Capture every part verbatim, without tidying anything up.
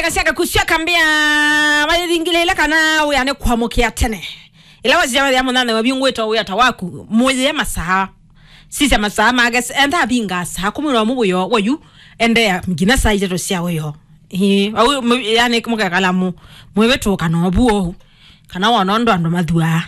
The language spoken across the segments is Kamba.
Kasya kakusya kambĩa, mayĩthingĩlĩĩla kana wĩa nĩ kwamũkĩa tene. Ĩla wasya wathĩa mũnyanyawa vyũ ngwĩtwa wĩa ta waku, mũyĩe masaa. Sisya masaa make, enda avinga saa kũmi na ũmwe wĩoo wayu, endeea nginya saa itatũ sya wĩoo. Ĩĩ, au, mũ-, yani, mũkekala mũ-, mwĩvĩtũka na ũvu ũu. Kana wona ũndũ andũ mathuaa.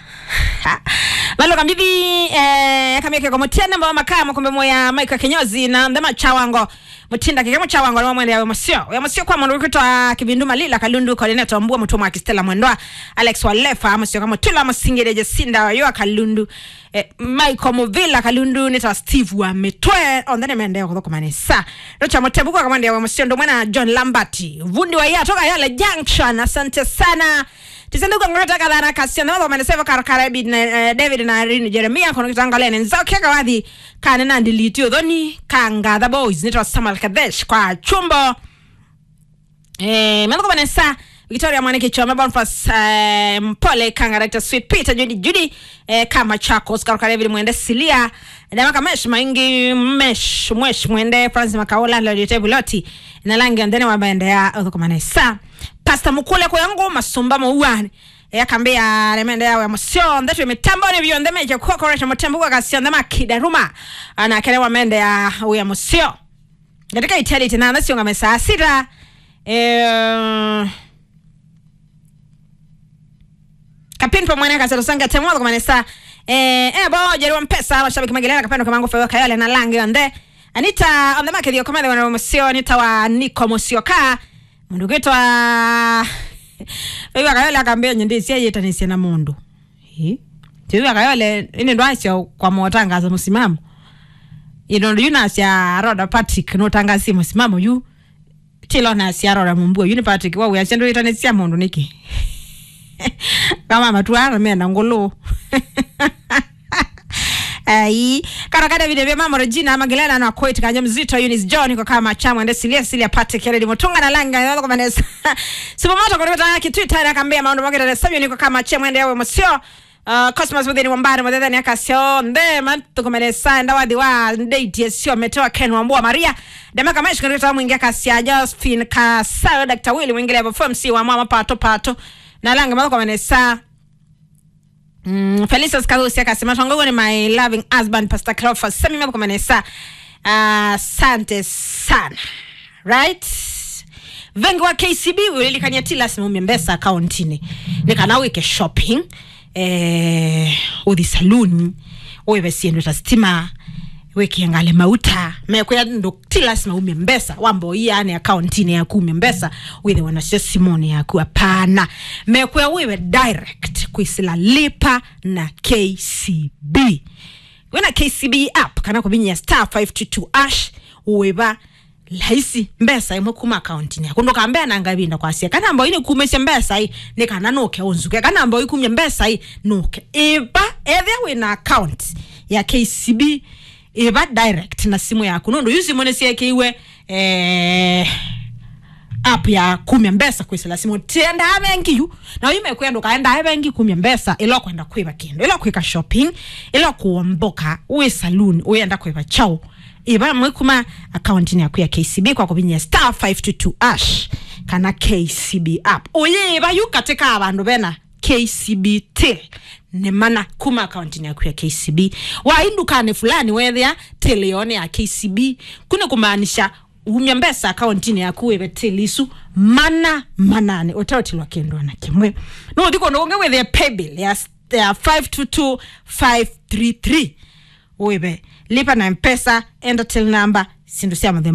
Maluka mbithi, eh, kamia keko mũtiene mbao makaa mũkombe moya Michael Kinyozi na Ndema Chawango. Mũtinda keke Mũchawango nĩ wamwendea wĩa mũseo. Wĩa mũseo kwa mũndũ ũkwĩtwa Kĩvindu Malila Kalundu, coordinator Mbua Mũtũmwa Kistela Mwendwa, Alex Walefa, mũseo kamũtula mũsingĩrĩ Jesinda Yoa Kalundu, eh, Michael Muvila Kalundu, nĩ ta Steve wa Mĩtwe, onthe nĩmendea kũthũkũma nesa. Rocha Mũtebu kwa kamwendea wĩa mũseo, ndũmwe na John Lambert. Vundi wa Yato Kayole Junction, asante sana. Tisenduka ngoreta kathana kasio na wathomene seva karo ka David na, eh, David na Irene Jeremia kono kitangalene nzao keka wathi kane na ndiliti uthoni kanga the boys nitwa Samuel Kadesh kwa chumbo. Eh, melo kwa Vanessa, Victoria Mwaniki Choma, Boniface, eh, Mpole, Kanga, Rector Sweet, Peter, Judy, Judy, eh, kama Chakos, karo ka David Mwende Silia, Dama Kamesh, Maingi, Mesh, Mwesh, Mwende, Francis Makaola, Lodi Tebuloti, na langi ondene wa bende ya uthukuma nesa. Pastor Mukule kwa yangu masumba mauani. Yakambia remende yawe museo ndetwe mitambo ni vyo ndeme je kwa correct mutambo kwa kasi ndema kidaruma. Ana kere wa mende ya uya museo. Katika itali tena na sionga mesa sita. Eh, Kapin pa mwana kasero sanga temo kwa manesa. Eh, eh, bo jeri wa mpesa mashabiki magelera kapendo kamangu fewa kayale na langi onde. Anita on the market yo komende wana museo Anita wa Niko museo ka. Mũndũ ũkwĩtwa Favour Kayole akambĩa nyendĩ cia yĩtanĩsye na mũndũ. Ĩ? Favour Kayole, ĩndĩ ndwasya kwa motangaza mũsimamo. Ĩndĩ yu nasya Rhoda Patrick nũtangasie mũsimamo yu. Tilo nasya Rhoda Mumbua yu nĩ Patrick wa wĩasya ndwĩtanĩsya mũndũ nĩkĩ? Kama matuana mena ngũlũ. Ai, karo ka David Vema, Regina Magdalena na Koit Kanya Mzito, Eunice John kwa kama cha mwende Silia Silia Patrick Kennedy Mutunga na Langa ya kwa Vanessa. Sipo moto kwa kama kitu itara kambia maondo makita na Samuel kwa kama cha mwende yawe museo. Uh, Cosmos within Wambare muthethe ni akasio nde matukumelesa ndawathi wa date yesio metoa Ken Wambua Maria. Dema kama ishikirita mwingi akasia Josephine Kasayo Doctor Willy mwingile hapo F M C wa mama pato pato. Na Langa mako Vanessa. Mm, Felicius Kahusi akasema, "Tongo ni my loving husband, Pastor Cleophas. Sami maboko manesa." Ah, asante sana. Right? Vengi wa K C B, ulilikania ti lazima umie mbesa accountini. Ni kana wike shopping, eh, uthi saloon, uive siendo ta stima, wĩkĩe ngalĩ mauta, mekwĩa ndũ ti lasima umye mbesa, wamba ũiane accountini yaku umye mbesa, wĩthĩwe nasyo simũnĩ yaku, apana. Mekwĩa wĩve direct kwĩsĩla Lipa na K C B. Wĩna K C B app kana kũvinyĩa star five two two hash, wĩva laisi mbesa imwe kuma accountini yaku. Ndũkambea nanga ĩvinda kwasya kana mboi nĩkumĩsye mbesa ĩ, nĩ kana nũke ũnzuke. Kana mboi kumye mbesa ĩ, nũke. Ĩva, ethĩa wĩna account ya K C B, ĩva direct na simũ yaku. Nũndũ yu simũ nĩsyekĩiwe, eh, app ya kumya mbesa kwĩsĩla simũ. Tiendaa vengi yu. Na yu mekwĩa ndũkaendaa vengi kumya mbesa, ĩla ũkwenda kwĩva kĩndũ, ĩla kwĩka shopping, ĩla kũomboka, wĩ saloon, ũyenda kwĩva chao. Ĩva mwĩ kuma accountini yaku ya K C B kwa kũvinyĩa star five two two hash kana K C B app. Ũyĩĩva yu katĩ ka vandũ vena K C B till nĩ mana kuma accountini yaku ya K C B. Waĩ ndukanĩ fulani wethĩa till yone ya K C B, ku nĩ kũmaanisha umya mbesa accountini yaku wĩve till isu mana mananĩ ũteũtilwa kĩndũ ona kĩmwe. Nũthi kũndũ kũngĩ wĩthĩe paybill ya, ya five two two five three three. Wĩve Lipa na Mpesa, enter till number, syĩndũ sya mũthemba